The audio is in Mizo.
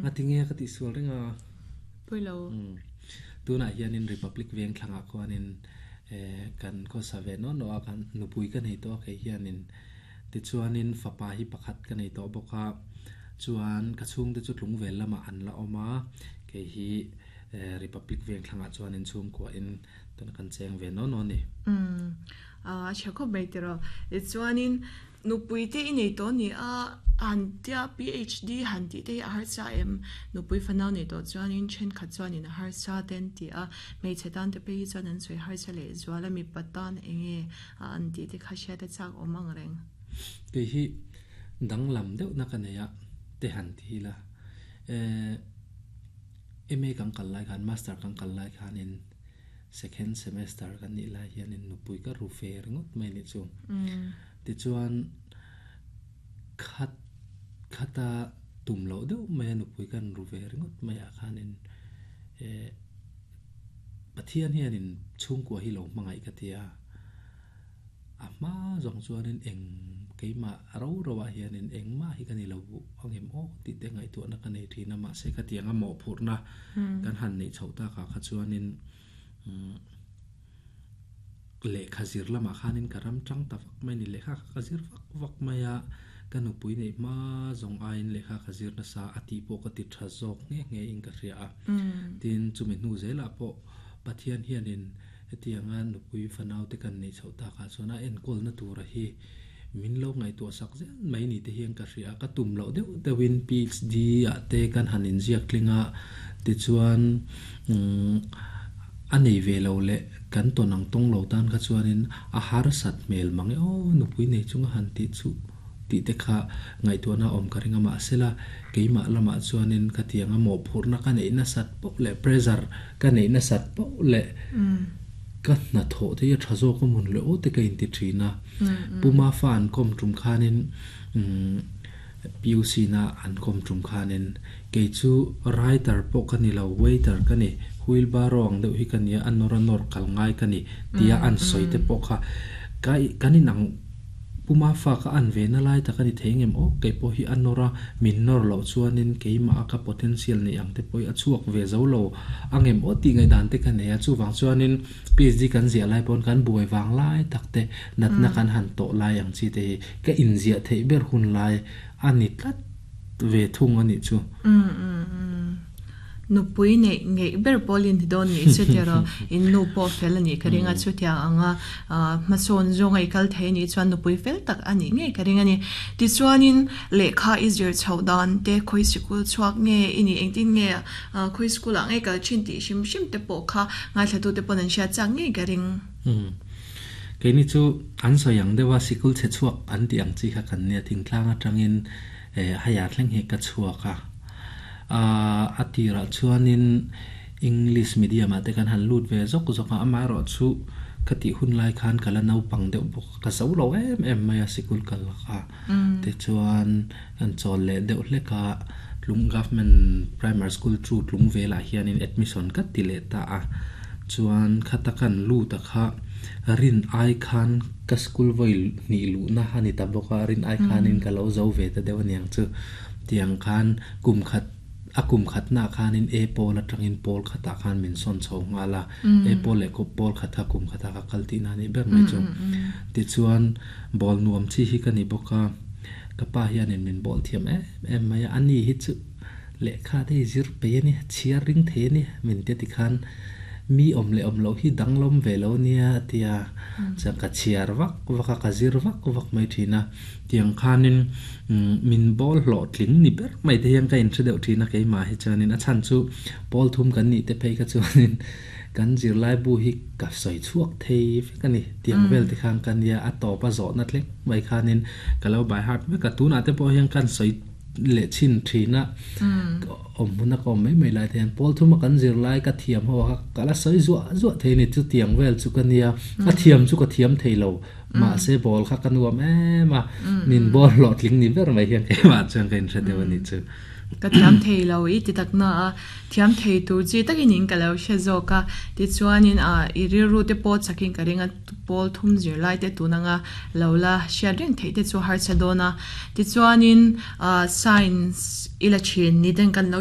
Ngatinge ka tihsual reng a. Pawilo. Tunah hianin Republic veng thlangah khuanin kan khawsa ve nawn lo a, kan nupui ka nei tawh a kei hianin. Tichuanin fapa hi pakhat ka nei tawh bawk a, chuan ka chhungte chu tlungvel lamah an la awm a, kei hi Republic veng thlangah chuanin chhungkuahin tuna kan cheng ve nawn nawn a ni. Umm a tha khawp mai tiraw. Tichuanin nupui te i nei tawh a ni a, han tia PHD han tih te hi a harsa em? Nupui fanau nei tawh chuanin thenkhat chuanin a harsa te an ti a, hmeichhe tan te phei hi chuan an sawi harsa leh zual a, mipa tan eng nge a an tih te kha hriat a chak awm ang reng. Kei hi danglam deuhna ka nei a, te han ti ila. Eh. MA kan kal lai khan, Master kan kal lai khanin second semester kan nih lai hianin nupui ka ru ve ringawt mai a nih chu. Tichuan khat khata tum loh deuh maia nupui kan ru ve ringawt mai ah khanin eh Pathian hianin chhungkua hi lo hmangaih ka ti a. A hma zawng chuanin eng keimah ro ro ah hianin engmah hi ka ni lo angem aw tih te ngaihtuahna ka nei thin a, mahse ka tiang a mawhphurhna kan han neih chhoh takah kha chuanin lehkha zir lamah khanin ka ram tang ta vak mai a ni, lehkha kha ka zir vak vak mai a, ka nupui neih hma zawng aiin lehkha ka zir nasa a tih pawh ka ti tha zawk nghe nghe in ka hria a, tin chumi hnu zelah pawh Pathian hianin Hetianga nupui fanaute kan neih chhoh takah chuan a enkawlna tura hi min lo ngaihtuah sak zel mai ni te hian ka hria a, ka tum loh deuh deuhin PhD ah te kan han inziak tling a, tichuan a nei ve lo leh kan tawn ang tawng lo tan kha chuanin a harsat hmel mang e aw nupui nei chunga han tih chuh. Tih te kha ngaihtuahna awm ka ring a, mahsela keimah lamah chuanin ka tiang a mawhphurhna ka neih nasat poh leh pressure ka neih nasat poh leh ka hnathawh te hi a tha zawk a mun leh aw te ka inti thin a. Puma fa an kawm tum khanin PUC na an kawm tum khanin kei chu writer pawh ka ni lo, waiter ka ni, wheelbarrow ang deuh hi ka nia, a nawr a nawr kal ngai ka ni tia an sawi te pawh kha kan inang Puma fa ka an ve na lai tak a ni thei ngem aw, kei pawh hi a nawr a, min nawr loh chuanin keimah a ka potential neih ang te pawh hi a chhuak ve zo lo a ngem aw tih ngaihdan te ka nei a, chuvang chuanin PhD kan ziah lai pawn kan buai vang lai tak te, natna kan han tawh lai ang chi te hi ka inziah theih ber hun lai a ni tlat ve thung a nih chu. Nupui neih ngeih ber pawl in ti dawn nih chu tiraw, in nu pawh fel a nih ka ring a, chutiang anga hmasawn zawnga i kal thei anih chuan nupui fel tak a nih ngei ka ring a ni. Tichuanin lehkha i zir chhoh dan te, khawi sikul chhuak nge i nih, engtin nge khawi school ah nge kal thin tih hrim hrim te pawh kha ngaithla tu te pawn an hriat chak ngei ka ring. Umm. Keini chu an sawi ang deuh a, sikul chhe chhuak an tih ang chi kha kan nia, thingtlang atangin haiah thleng hi ka chhuak a. A tirah chuanin English medium ah te kan han lut ve zawk zawk a, amaherawhchu ka tih hun lai khan ka la naupang deuh bawk a, ka zo lo em em mai a sikul kal kha. Tichuan kan chawl leh deuh hlek a, tlung government primary school chu tlung velah hianin admission ka ti leh ta a, chuan khata kan lut a kha rin ai khan ka school vawi hnih luhna a ni ta bawk a, rin ai khanin ka lo zo ve ta deuh aniang chu. Tiang khan kum khat a kum khatnaah khanin A pawl atangin pawl khatah khan min sawn chho nghal a, A pawl leh pawl khat kha kum khatah ka kal tihna a nih ber mai chu. Tichuan ball nuam chi hi ka ni bawk a, ka pa hianin min ball thiam em em mai a, ani hi chu lehkha te hi zir peih a ni, chhiar ring thei a ni min tia tikhan mi awm leh awm loh hi danglawm ve lo nia a ti a, chuan ka chhiar vak vak a, ka zir vak vak mai thin a. Tiang khanin min bawl hlawhtling ni ber mai te hian ka inhre deuh thin a keimah hi chuanin a chhan chu pawl thum kan nih te phei kha chuanin kan zirlai bu hi ka sawi chhuak thei vek a ni. Tiang vel te khan ka nia a tawp a zawhna tlek mai khanin ka lo by heart vek a tunah te pawh hian kan sawi leh chhin thin a awm hmun a ka awm mai mai lai te hian pawl thuma kan zirlai ka thiam ho a ka la sawi zuah zuah thei a ni chu tiang vel chu ka nia a thiam chu ka thiam thei lo. Mahse ball kha ka nuam em a, min ball hlawhtling ni ber mai hian keimah chuan ka inhre deuh a nih chu. Ka thiam thei lo i ti tak na a, thiam thei tur chi takin in ka lo hre zawk a, tichuanin ah i rilru te pawh chakin ka ring a, pawl thum zirlai te tun anga lo la hriat reng theih te chu harsa dawn a, tichuanin ah science i la thin ni ten kan lo.